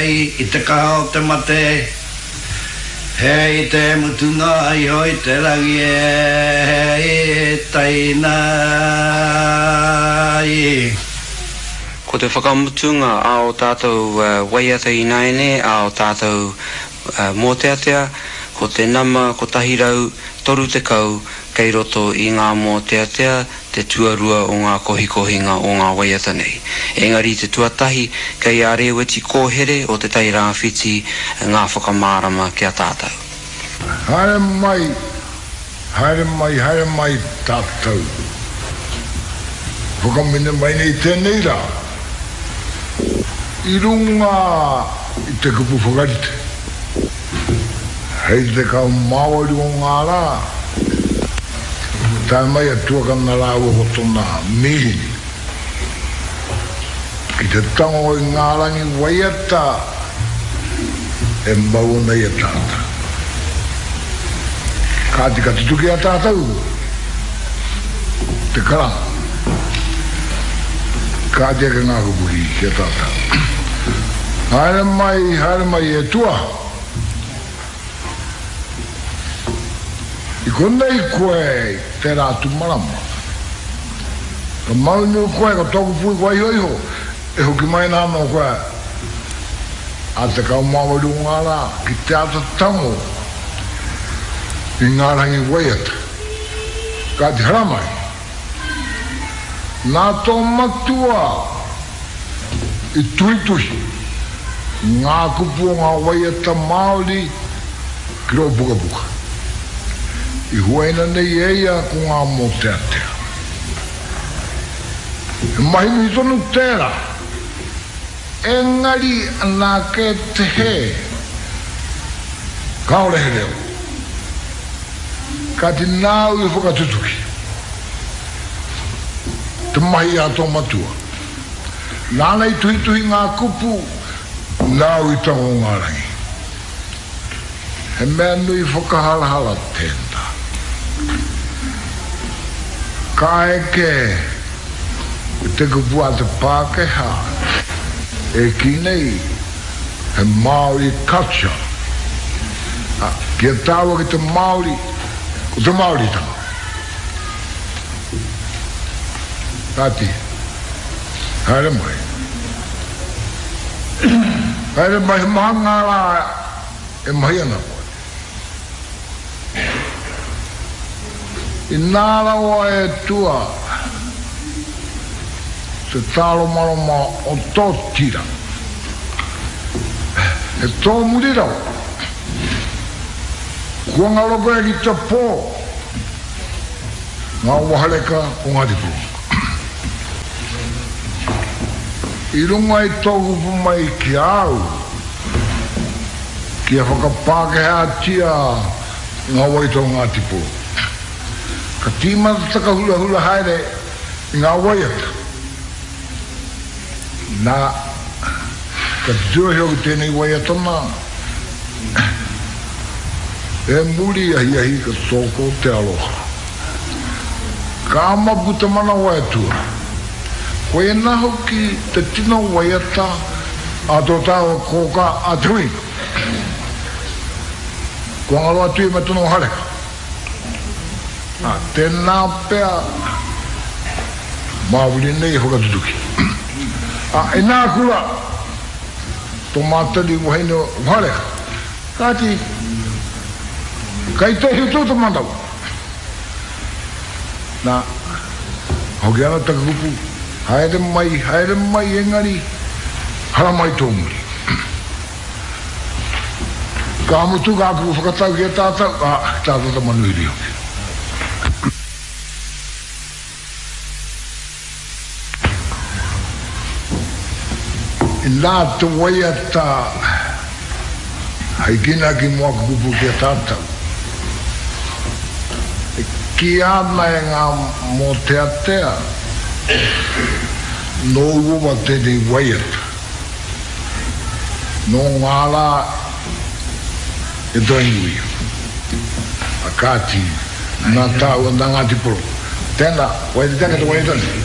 Hei i te kaha o te mate, Hei te mutunga iho i te rangi e Hei taina i. Ko te whakamutunga a o tātou waiata ināianei, a o tātou mōteatea, ko te nama 130 kei roto i ngā mōteatea, te tuarua o ngā kohikohinga o ngā waiata nei. Engari te tuatahi kei a Rēweti Kōhere o Te Tai Rāwhiti ngā whakamārama ki a tātou. Haere mai, haere mai, haere mai tātou. Whakamine mai nei tēnei rā i runga i te kupu whakarite. Hei te 18 o ngā rā, tae mai a Tuakana rāua ko tona mīhini ki te tango i ngā rangi waiata e mau ana i a tātou. Kāti ka tutuki a tātou te karanga. Kāti ake ngā kupu ki a tātou. Haere mai, haere mai e Tua. I konei koe i tērā atu marama. Ka maunu koe, ko tōku pui kua iho iho, e hoki mai ana anō koe a 18 o ngā rā ki te āta tango i ngā rangi waiata. Kāti haramai. Nā tō matua i tuhituhi ngā kupu o ngā waiata Māori ki rō pukapuka. I huaina nei e ia ko ngā mōteatea. He mahi nui tonu tērā, engari anā kē te hē, kāore he reo. Kāti nāu i whakatutuki te mahi a tō matua. Nāna i tuhituhi ngā kupu, nāu i tango ngā rangi. He mea nui whakaharahara tēnā. Ka eke te kupu a te Pākehā e kī nei he Māori culture. Ā, ki a tāua ki te Māori, ko te Māoritanga. Kāti, haere mai. Haere mai, he maha ngā rā e mahi ana koe. Inā rawa e tua te tāromaroma o tō tira, he tōmuri rawa. Kua ngaro koe ki te pō, ngā wahareka o Ngāti Porou. I runga i tō kupu mai ki a au, Kia whakapākehātia ngā waiata o Ngāti Porou. Ka tīmata taka hurahura haere i ngā waiata. Nā, ka titiro ki tēnei waiata nā, E muri ahiahi ka toko te aroha. Ka mapu te manawa e tua. Koinā hoki te tino waiata a tō tāua kōkā a Te Huinga. Kua ngaro atu ia me tōna wahareka. Ā, tēnā pea Māori nei e whakatutuki. Ā, inā kura tō mātou wahine wahareka. Kāti, kei te hitu te manawa. Nā, hoki ana taku kupu, haere mai, haere mai, engari, haramai tō muri. Ka mutu kā kupu whakatau ki a tātou, ā, ki tā tātou manuhiri hoki. Inā te waiata hei kīnaki mō aku kupu ki a tātou. E kīia ana e ngā mōteatea, nō uawa tēnei waiata. Nō ngā rā e Tainui. A kāti, nā tāua, nā Ngāti Porou. Tēnā, waiata ake te waiata nei.